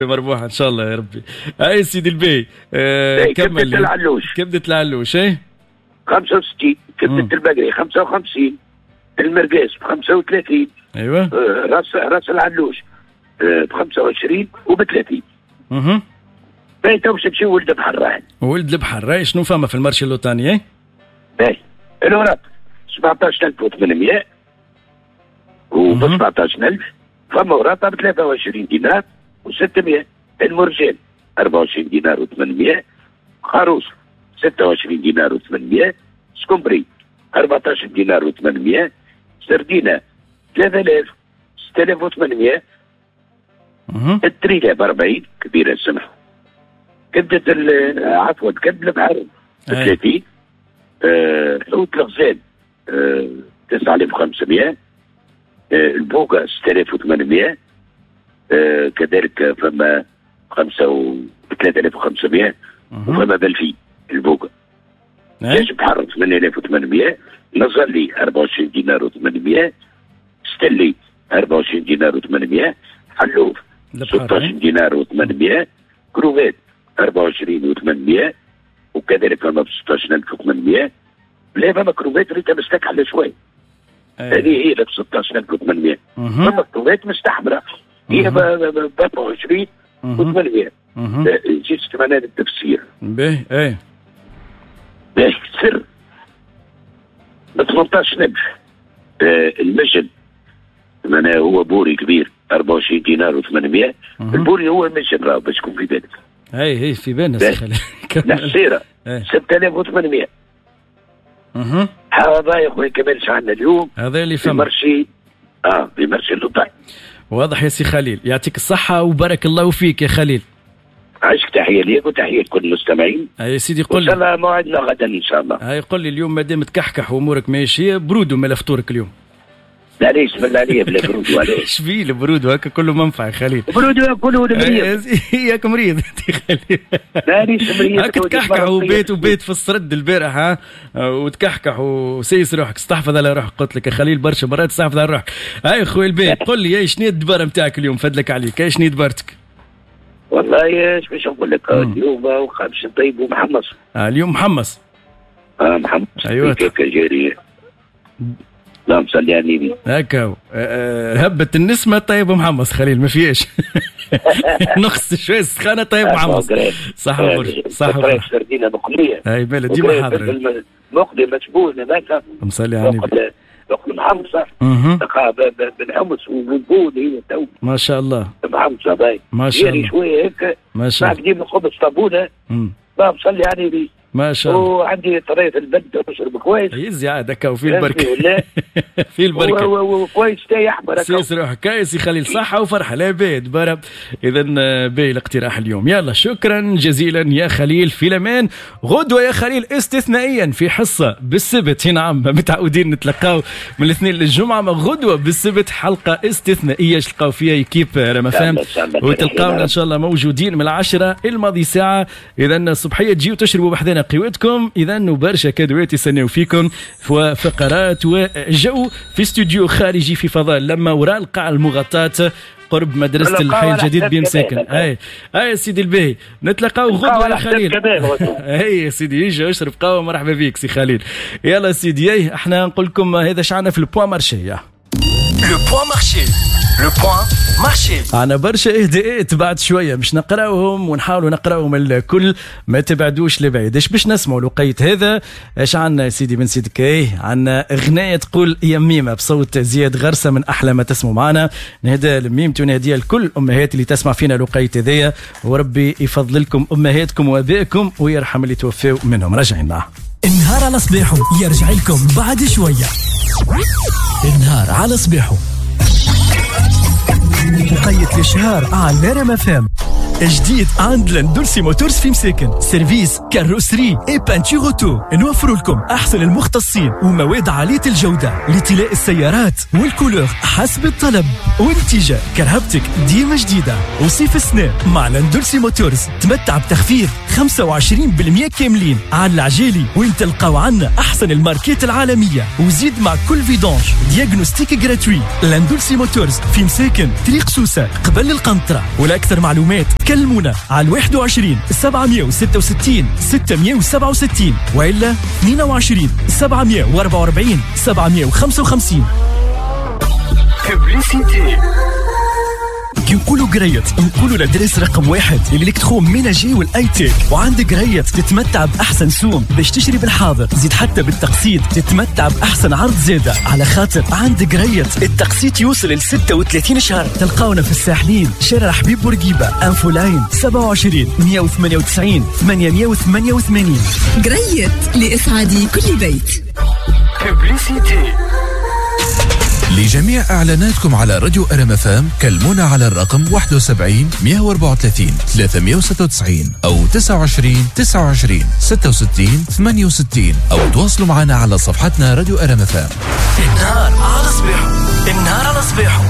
مربوحه ان شاء الله يا ربي. اي سيدي البي، كمل. كبدة العلوش. كبدة العلوش اي 65، كبدة البقري 55، المرقاز ب 35. ايوه. راس العلوش ب 25 وب 30. اها. باهي، تو باش نمشيو ولد البحر راهي. ولد البحر راهي شنو فما في ال marché اللوطاني؟ باهي، الوراق 17800 و 17000، فما وراقه ب 23 دينار و600، المرجان 24 دينار و800، خروص 26 دينار و800، سكومبري 14 دينار و800، سردينة 3000 6800، التريلة ب 40 كبيرة السمح، كبدة عفوا كبد البحر ب 30، حوت الغزال 9500، البوكا 6800، كذلك فما 3500 وفما ب 2000 البوكا. دجاج بحر 8800، نزلي 24 دينار و800، ستلي 24 دينار و800، حلوف 16 دينار و800، كروفات 24 و800، وكذلك فما ب 16800. لا فما كروفات ريتها مستكحله شوي، هذه هي ب 16800. فما كروفات مستحمره هي ب 24 و800. جيت معناها التفسير. باهي اي باهي، سر ب 18000. المجد معناها هو بوري كبير 24 دينار و800. البوري هو المجد راه باش تكون في بالك. اي اي في بالنا سي خالد. الحصيرة 6800. هذا يا خويا كمال عندنا اليوم، هذا اللي فما في marché في marché اللوطاني. واضح يا سي خليل، يعطيك الصحة وبارك الله فيك يا خليل. عايشك، تحية ليك وتحية لكل المستمعين. يا سيدي قل لي، ان شاء الله موعدنا غدا ان شاء الله. هاي قل لي اليوم مادام تكحكح وامورك ماشية، برودو مال فطورك اليوم. لا ليش بالله عليا بلا برودو، علاش؟ ايش بيه البرودو هكا كله منفعه يا خليل. برودو كله مريض. ياك مريض انت خليل. لا ليش مريض؟ هكا تكحكح وبيت في السرد البارح ها، وتكحكح وسيس روحك، استحفظ على روحك، قلت لك يا خليل برشا مرات استحفظ على روحك. هاي خويا البيت قل لي شنو الدباره نتاعك اليوم، فدلك عليك، شنو دبارتك؟ والله ايش باش نقول لك، اليوم باش نطيبوا محمص. اليوم محمص. محمص. ايوه جارية. اللهم صل على النبي. هكا هبت النسمه طيب محمص خليل ما فيهاش. نقص شوية السخانه طيب محمص. صح صح. سردينه مقلية. اي بالله ديما حاضر. مقلي مشبوه هذاك. مصلي على النبي. مقلي محمصه بالحمص والبول هي تو. ما شاء الله. محمصه باي. ما شاء الله. شوية هيك. ما شاء الله. ديما خبز طابونه. اللهم صلي على النبي. ما شاء الله. وعندي طريقة البنت نشرب كويس. يزي عاد هكا وفي البركة. في البركة. وكويس تاي احمر. سيس روحك يا سي خليل، صحة وفرحة لا بيد برب. إذا باهي الاقتراح اليوم. يلا شكرا جزيلا يا خليل في الأمان. غدوة يا خليل استثنائيا في حصة بالسبت، نعم متعودين نتلقاو من الاثنين للجمعة، ما غدوة بالسبت حلقة استثنائية تلقاو فيها équipe رما فام، وتلقاونا إن شاء الله موجودين من 10 الماضي ساعة. إذا الصبحية تجيو تشربوا بحذنا قوتكم. اذا وبرشا كادوات يستناو فيكم وفقرات وجو في استوديو خارجي في فضاء لما وراء القاعة المغطاة قرب مدرسة الحي الجديد بمساكن. اي اي سيدي الباهي، نتلاقاو غدوة يا خليل. اي يا سيدي يجي اشرب قهوة، مرحبا بك سي خليل. يلا سيدي احنا نقول لكم هذا شعنا في ال point marché. le point marché، le point marché. عنا برشا اهداءات بعد شوية باش نقراوهم ونحاولوا نقراوهم الكل، ما تبعدوش لبعيد. اش باش نسمعوا الوقيت هذا؟ اش عندنا يا سيدي بن سيدك؟ ايه عندنا اغنية تقول يا ميمه بصوت زياد غرسه، من احلى ما تسمعوا معنا. نهدى لميمتي ونهديها لكل الامهات اللي تسمع فينا الوقيت هذايا، وربي يفضل لكم امهاتكم وابائكم ويرحم اللي توفاو منهم. راجعين النهار على صباحه يرجع لكم بعد شوية. النهار على صباحه وقيت الشهر على رما فام. جديد عند لندولسي موتورز في مساكن، service carrosserie et peinture auto. نوفر لكم احسن المختصين ومواد عالية الجودة لطلاء السيارات وال couleur حسب الطلب، ونتيجة كرهبتك ديما جديدة. وصيف السنة مع لندولسي موتورز تمتع بتخفيض 25% كاملين على العجالي، وين تلقاو عنا احسن الماركات العالمية، وزيد مع كل vidange diagnostic gratuit. لندولسي موتورز في مساكن، طريق سوسة قبل القنطرة. ولأكثر معلومات كلمونا على 21 766 667 وإلا 22 744 755. Publicité. كي نقولوا قريت نقولوا l'adresse رقم 1 l'électroménager وال high-tech. وعند قريت تتمتع باحسن سوم باش تشري بالحاضر، زيد حتى بالتقسيط تتمتع باحسن عرض زاده، على خاطر عند قريت التقسيط يوصل ل 36 شهر. تلقاونا في الساحلين، شارع حبيب بورقيبه، infoline 27 198 888. قريت لإسعاد كل بيت. Publicité. لجميع إعلاناتكم على راديو RMFM كلمونا على الرقم 71 134 396 أو 29 29 66 68 أو تواصلوا معنا على صفحتنا راديو RMFM. النهار على صباحه، النهار على صباحه.